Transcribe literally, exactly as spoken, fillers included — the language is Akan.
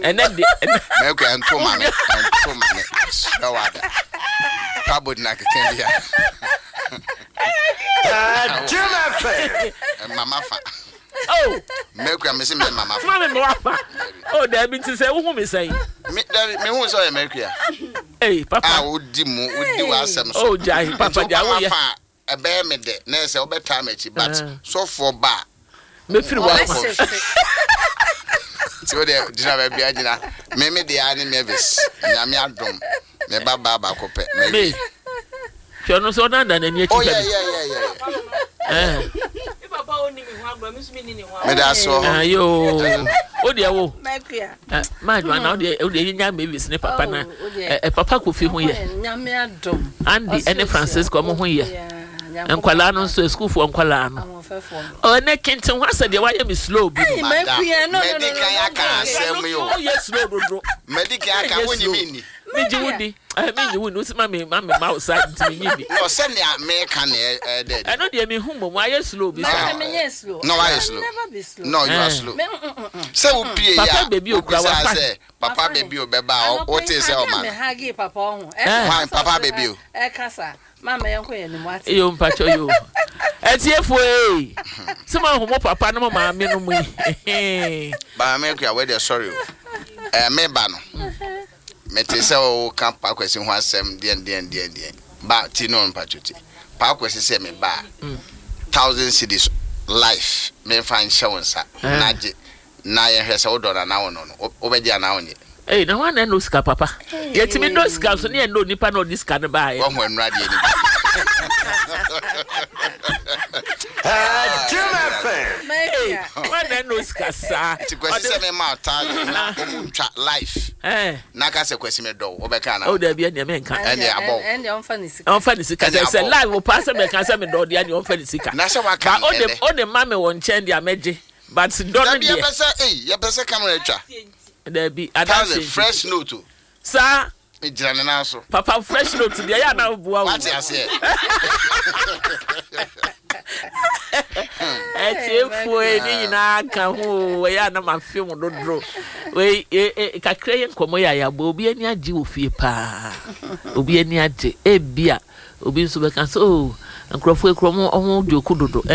Ɛnɛ de ɛnɛ. Mɛkua nto ma me, nto ma me srɛ wada pabod na keka bia. Jim F M. Mama fa. Oh. Mɛkua me se me mama fa. Mama me wafa. Oh, dabi, nti sɛ wohu me sɛn? Me dabi, me hu sɛ ɔyɛ Mɛkua. Hey, papa. A wodi mu, wodi w'asɛm so. Oh, gyae, papa, gyae, woyɛ. Fa ɛbɛyɛ me dɛ na ɛsɛ wobɛtaa m'akyi, but Ah. sɔfoɔ ba a mefiri wafa. Nti wo deɛ gyina baabi a gyina. Me me deɛ ne Mavis, Nyame adom, me ba baa baako pɛ. Me hwɛ no sɛ ɔnanda n'ani akyi Oh, hwɛ yeah, me. yeah, yeah, yeah. Eh. Meda ase wɔ hɔ. Ayo, o deɛ wo Mɛkua. Maa Joanna, o deɛ o deɛ yɛnya Mavis ne papa na Oh, o deɛ. ɛ papa Kofi ho yɛ? Nyame adom. Andy ɛne Francisco, ɔmo ho yɛ? Yeah. Nkwalaa no nso, asukuufoɔ nkwalaa no? Ahoɔfɛfoɔ. Ɔne kenten ho asɛ deɛ wayɛ me slow bi. Hey, Madam, Mɛkua, no, no, no, medi no, kan no, aka no, asɛm yi o. Ɔyɛ slow dodo. Medi kan aka, wonyi mi nni. Megye wo di. Ɛ, megye wo di, wosi ma me ma me ma wo sa, nti menyi di. No, sɛnea meka ne ɛdɛ. Ɛno deɛ mehu mmom ayɛ slow bi saa. Mɛ menyɛ slow. No, wayɛ I slow. never be slow. No, you are Eh. slow. Me, mm, mm, mm. Sɛ wopie Papa yɛ a baby okura wobisa wafa. sɛ papa baby o bɛba a, wote sɛ ɔma Me no hug papa ɔho. Eh. Hwan, papa baby o? Ɛkasa. Mama, yɛn kɔ yɛn nimu ate. Iyo, mpakyɛ yo, ɛtiefoɔ ee, sɛ ma hu mo papa ne mo maame no mu yi. Baa me kua, wei deɛ, sorry o, ɛɛ, me ba no mete sɛ woka Paa Kwasi ho asɛm deɛn deɛn deɛn deɛn ba ti no, mpatwo ti Paa Kwasi sɛ me ba a thousand cedis life memfa nhyɛ wo nsa Eh. na gye na yɛhwɛ sɛ wodɔ no anaa wo no no wo- wobɛgye anaa wonyɛ. Ee, na wɔn na ɛnɔ sika papa, yɛtumi dɔ sika so ne yɛn dɔ nipa na ɔde sika no baayɛ. Wahu anuradeɛ no bi. Jim F M. Ee, Mɛkua. wɔn na ɛnɔ sika saa. Nti Kwasi sɛ mema wo thousand na ɔmu ntwa life ɛɛ na ka sɛ Kwasi medɔ wo, wobɛka anaa? O dabi, ɛnìyɛn mɛ nka. Ɛndeɛ abɔ wo. Ɛndeɛ ɔmfa ne sika. Ɔnfa ne sika. Ɛne sɛ sɛ abɔ. live pa sɛ mɛka sɛ mɛ dɔ deɛ, ɛnìyɛn ɔnfa ne sika. Na sɛ waka Ba no ɔde ɛnɛ. Ɔde ma mi wɔ nkyɛn deɛ mɛgye, but dɔ no Dabi, deɛ yɛpɛ sɛ ei, yɛpɛ sɛ camera twa. Dabi, thousand adanse fresh note o. Saa. Megyina ne nan so. Papa, fresh note deɛ yɛ anan boa wo. Wate aseɛ? Ɛtiefoɔ yi ne nyinaa ka ho o, ɛyɛ anam afe mu dodo wei e e kakra yɛ nkɔmɔ yɛ ayabɔ. Obi ani agye wɔ fie paa, obi ani agye. Ebia obi nso bɛka sɛ o, nkurɔfoɔ ekura ɔmo ɔmo joke dodo.